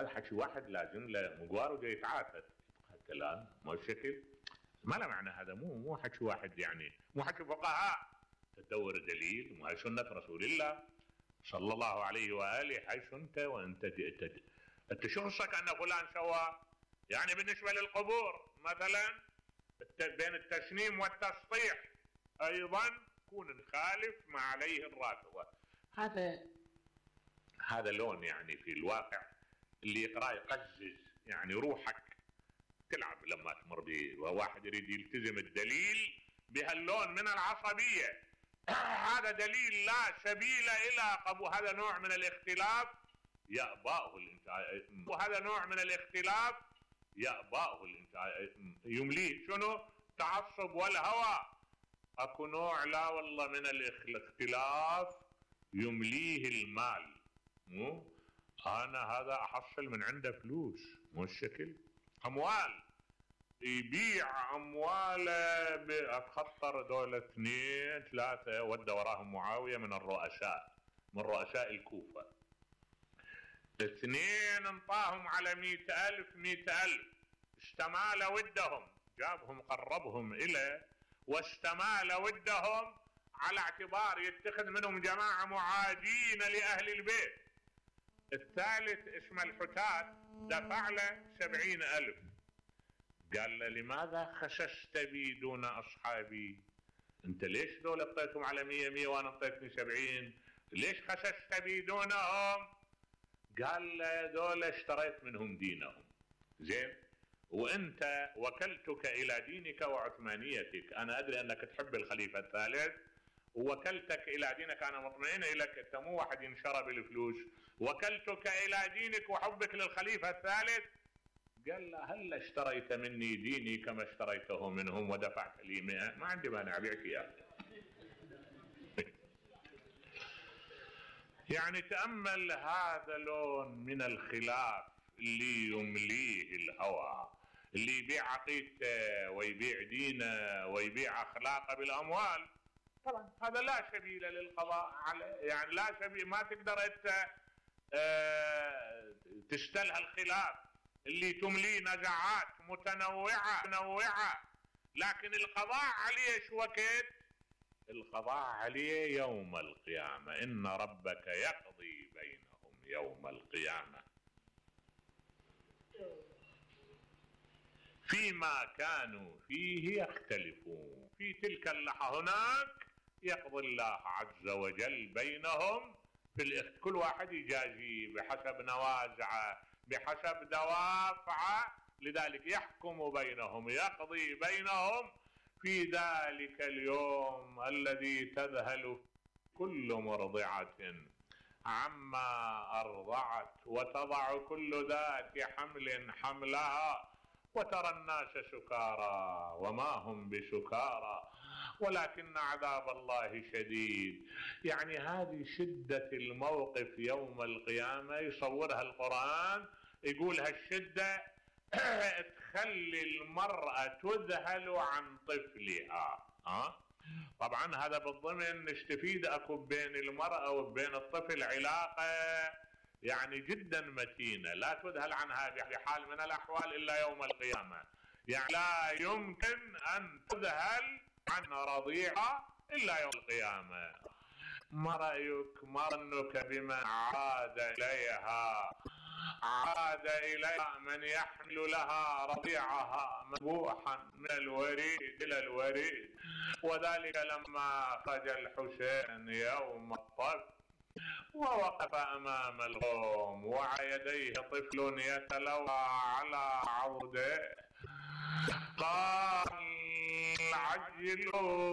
هذا حكي واحد لازم له مقوار وجاي يتعافى الكلام مو الشكل، ما له معنى هذا، مو حكي واحد يعني، مو حكي فقهاء. تدور دليل وهي سنة رسول الله صلى الله عليه وآله. حيث انت وانت انت شخصك ان فلان سوى. يعني بالنسبة للقبور مثلا بين التسنيم والتسطيح ايضا كون نخالف ما عليه الرافضة. هذا لون يعني في الواقع اللي يقرأ يقزز يعني روحك تلعب لما تمر به، وواحد يريد يلتزم الدليل بهاللون من العصبية. هذا دليل لا سبيل الى قبول، هذا نوع من الاختلاف يأباه الانسان، وهذا نوع من الاختلاف يأباه الانسان يمليه شنو؟ تعصب والهوى. اكو نوع لا والله من الاختلاف يمليه المال. مو انا هذا احصل من عنده فلوس، مو الشكل اموال، يبيع امواله بخطر دولة 2 3 ودى وراهم معاوية من الرؤساء، من رؤساء الكوفة. 2 انطاهم على 100,000 استمال ودهم، جابهم قربهم إليه واستمال ودهم على اعتبار يتخذ منهم جماعة معادين لأهل البيت. الثالث اسمه الحتات دفع له 70,000. قال له لماذا خسست بي دون أصحابي؟ انت ليش دول اعطيتهم على 100 وانا اعطيتني 70؟ ليش خسست بي دونهم؟ قال له دول اشتريت منهم دينهم. زين، وانت وكلتك الى دينك وعثمانيتك، انا ادري انك تحب الخليفة الثالث ووكلتك الى دينك، انا مطمئن لك، انت مو واحد ينشرى بالفلوس، وكلتك الى دينك وحبك للخليفة الثالث. قال له هل اشتريت مني ديني كما اشتريته منهم ودفعت لي 100؟ ما عندي مانع ابيعك اياه. يعني تأمل هذا لون من الخلاف اللي يمليه الهوى، اللي يبيع عقيدته ويبيع دينه ويبيع اخلاقه بالاموال. طبعا هذا لا سبيل للقضاء عليه، يعني لا سبيل، ما تقدر انت تستلها الخلاف اللي تمليه نزعات متنوعة، لكن القضاء عليه شو وقت؟ القضاء عليه يوم القيامة، إن ربك يقضي بينهم يوم القيامة فيما كانوا فيه يختلفون. في تلك اللحظة هناك يقضي الله عز وجل بينهم كل واحد يجازي بحسب نوازعه بحسب دوافعه، لذلك يحكم بينهم يقضي بينهم في ذلك اليوم الذي تذهل كل مرضعة عما أرضعت وتضع كل ذات حمل حملها وترى الناس سكارى وما هم بسكارى ولكن عذاب الله شديد. يعني هذه شدة الموقف يوم القيامة يصورها القرآن، يقول هالشدة تخلي المرأة تذهل عن طفلها. طبعا هذا بالضمن نستفيد اكو بين المرأة وبين الطفل علاقة يعني جدا متينة لا تذهل عنها بحال من الاحوال الا يوم القيامة. يعني لا يمكن ان تذهل عن رضيعة الا يوم القيامة. ما رأيك ما ظنك بمن عاد إليها من يحمل لها رضيعها مذبوحا من الوريد إلى الوريد. وذلك لما خرج الحسين يوم الطف ووقف أمام القوم ويديه طفل يتلوى على عوده قال عجلوا